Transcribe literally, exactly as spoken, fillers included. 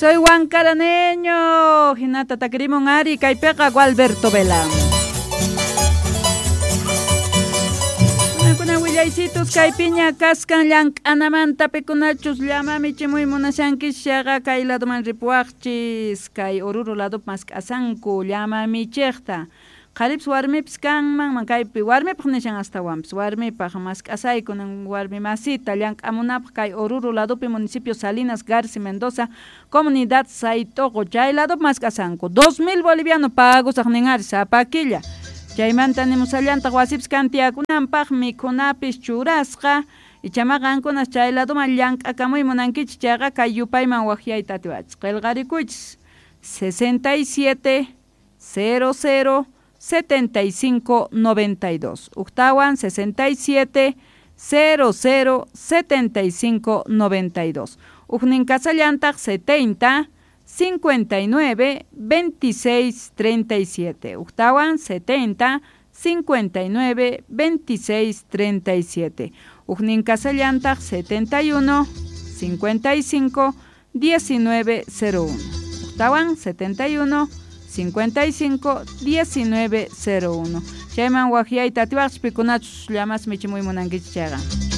Soy huancaraneño, hinata takirimun ari kaypiqa Gualberto Vela. Kuna willaysitus kaypiña kaskan llank'anamanta pikunachus llama michimuy munashankis chayqa kay ladoman ripuwaqchis kay Oruro ladopi mask'asanku llama michiqta. Qharipis warmipis kanman kaypi warmipaq nishan astawanpis warmipaq mask'asayku warmi masita llank'amunapaq kay Oruro ladopi municipio Salinas Garci Mendoza comunidad Saytoqo chay ladopi mask'asanku dos mil boliviano pagusaq nin ari sapa killa. Chaymanta nimusallantaq wasipis kan tiyakunanpaq mikhunapis churasqa ichama qankunas chay ladoman llank'akamuy munankichis chayqa kay yupayman waqyayta atiwachis qillqarikuychis sesenta y siete cero cero setenta y cinco noventa y dos Uktawan sesenta y siete cero cero setenta y cinco noventa y dos Ujnin kasallantaq setenta cincuenta y nueve veintiséis treinta y siete Uktawan setenta cincuenta y nueve veintiséis treinta y siete Ujnin kasallantaq setenta y uno cincuenta y cinco diecinueve cero uno Uktawan setenta y uno cincuenta y cinco diecinueve cero uno Chayman waqyayta atiwaqchis pikunachus llamas michimuy munankichis chayqa.